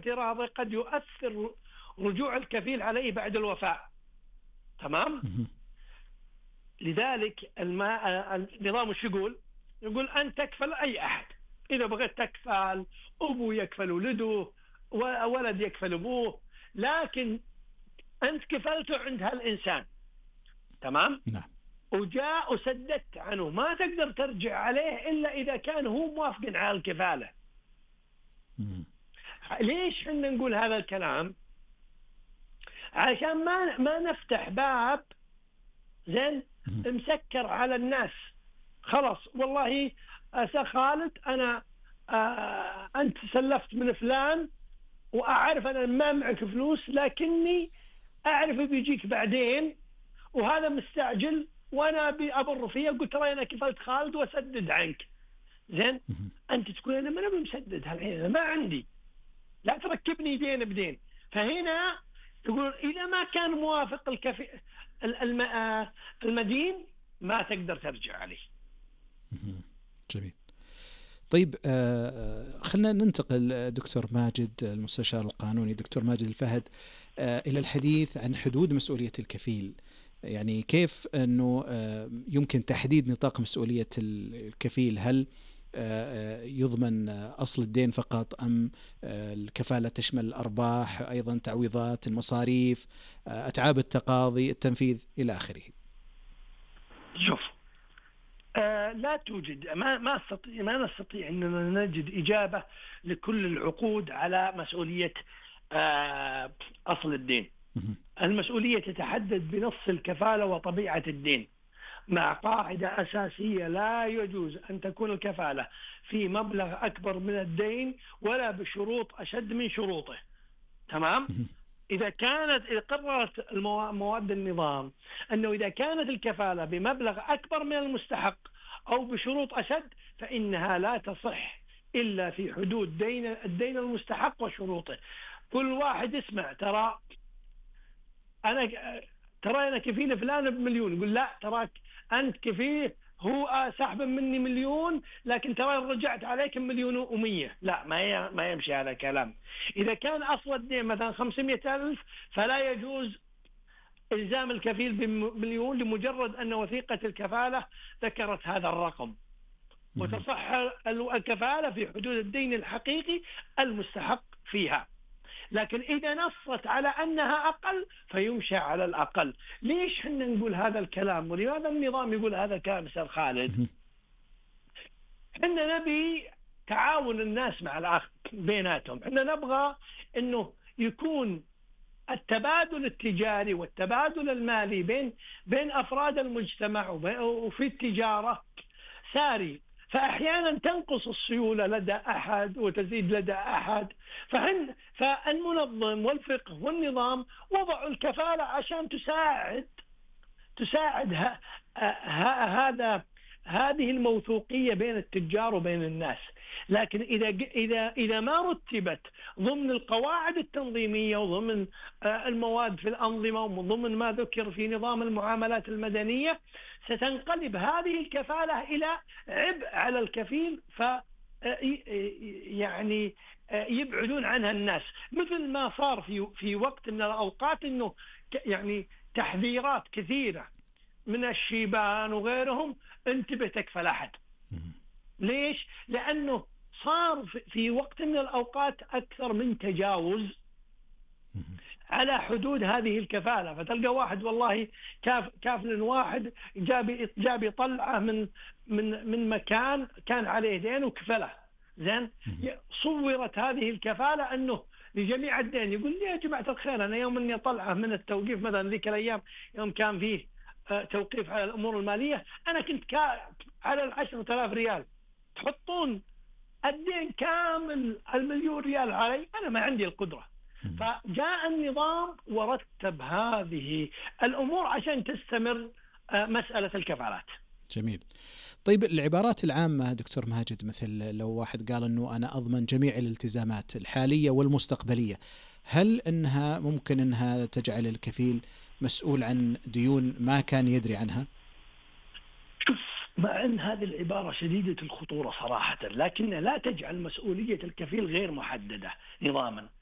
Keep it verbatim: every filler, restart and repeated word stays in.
اعتراضه قد يؤثر رجوع الكفيل عليه بعد الوفاة. تمام. لذلك النظام وش يقول؟ يقول أن تكفل أي أحد، إذا بغيت تكفل أبو يكفل ولده، ولد يكفل أبوه، لكن أنت كفلته عند هالإنسان. تمام. نعم. وجاء وسددت عنه، ما تقدر ترجع عليه إلا إذا كان هو موافق على الكفالة. مم. ليش حنا نقول هذا الكلام؟ عشان ما ما نفتح باب زين مسكر على الناس. خلاص والله أسا خالد أنا آه أنت سلفت من فلان وأعرف أنا ما معك فلوس، لكني أعرف بيجيك بعدين وهذا مستعجل وأنا بأبر فيه، قلت ترى أنا كفلت خالد وأسدد عنك. زين أنت تقول أنا ما بمسدد هالحين، أنا ما عندي، لا تركبني دين بدين. فهنا تقول إذا ما كان موافق الكفي المدين ما تقدر ترجع عليه. جميل. طيب خلنا ننتقل دكتور ماجد المستشار القانوني دكتور ماجد الفهد إلى الحديث عن حدود مسؤولية الكفيل. يعني كيف أنه يمكن تحديد نطاق مسؤولية الكفيل؟ هل يضمن أصل الدين فقط أم الكفالة تشمل الأرباح أيضا، تعويضات، المصاريف، أتعاب التقاضي، التنفيذ إلى آخره؟ شوف آه لا توجد ما ما استطيع ما نستطيع أننا نجد إجابة لكل العقود على مسؤولية آه أصل الدين. المسؤولية تتحدد بنص الكفالة وطبيعة الدين، مع قاعدة أساسية: لا يجوز أن تكون الكفالة في مبلغ أكبر من الدين ولا بشروط أشد من شروطه. تمام؟ إذا كانت إذا قررت مواد النظام أنه إذا كانت الكفالة بمبلغ أكبر من المستحق أو بشروط أشد فإنها لا تصح إلا في حدود دين الدين المستحق وشروطه. كل واحد يسمع ترى أنا ترى أنا كفيل فلان بمليون، يقول لا تراك أنت كفيه هو سحب مني مليون لكن ترى رجعت عليك مليون ومية. لا ما ما يمشي هذا الكلام. إذا كان أصل الدين مثلا خمسمائة ألف فلا يجوز إلزام الكفيل بمليون لمجرد أن وثيقة الكفالة ذكرت هذا الرقم، وتصح الكفالة في حدود الدين الحقيقي المستحق فيها. لكن إذا نصت على أنها أقل فيمشى على الأقل. ليش حنا نقول هذا الكلام ولماذا النظام يقول هذا الكلام أستاذ خالد؟ حنا نبي تعاون الناس مع الآخر بيناتهم. حنا نبغى أنه يكون التبادل التجاري والتبادل المالي بين بين أفراد المجتمع وفي التجارة ساري. فأحيانا تنقص السيولة لدى أحد وتزيد لدى أحد. فهن فالمنظم والفقه والنظام وضعوا الكفالة عشان تساعد تساعد ه... ه... هذا هذه الموثوقية بين التجار وبين الناس. لكن إذا إذا إذا ما رتبت ضمن القواعد التنظيمية وضمن المواد في الأنظمة وضمن ما ذكر في نظام المعاملات المدنية ستنقلب هذه الكفالة إلى عبء على الكفيل، ف يعني يبعدون عنها الناس. مثل ما صار في في وقت من الأوقات إنه يعني تحذيرات كثيرة من الشيبان وغيرهم: انتبه تكفل أحد. ليش؟ لأنه صار في وقت من الأوقات أكثر من تجاوز على حدود هذه الكفالة. فتلقى واحد والله كاف كافل واحد جاب جاب طلعه من من من مكان كان عليه دين وكفله. زين صورت هذه الكفالة أنه لجميع الدين. يقول لي يا جماعة الخير أنا يوم أني طلعه من التوقيف مثلا ذيك الأيام يوم كان فيه توقيف على الأمور المالية أنا كنت على العشرة آلاف ريال، تحطون الدين كامل المليون ريال علي، أنا ما عندي القدرة. فجاء النظام ورتب هذه الأمور عشان تستمر مسألة الكفالات. جميل. طيب العبارات العامة دكتور ماجد، مثل لو واحد قال أنه أنا أضمن جميع الالتزامات الحالية والمستقبلية، هل أنها ممكن أنها تجعل الكفيل مسؤول عن ديون ما كان يدري عنها؟ شوف، مع أن هذه العبارة شديدة الخطورة صراحة، لكنها لا تجعل مسؤولية الكفيل غير محددة نظاما.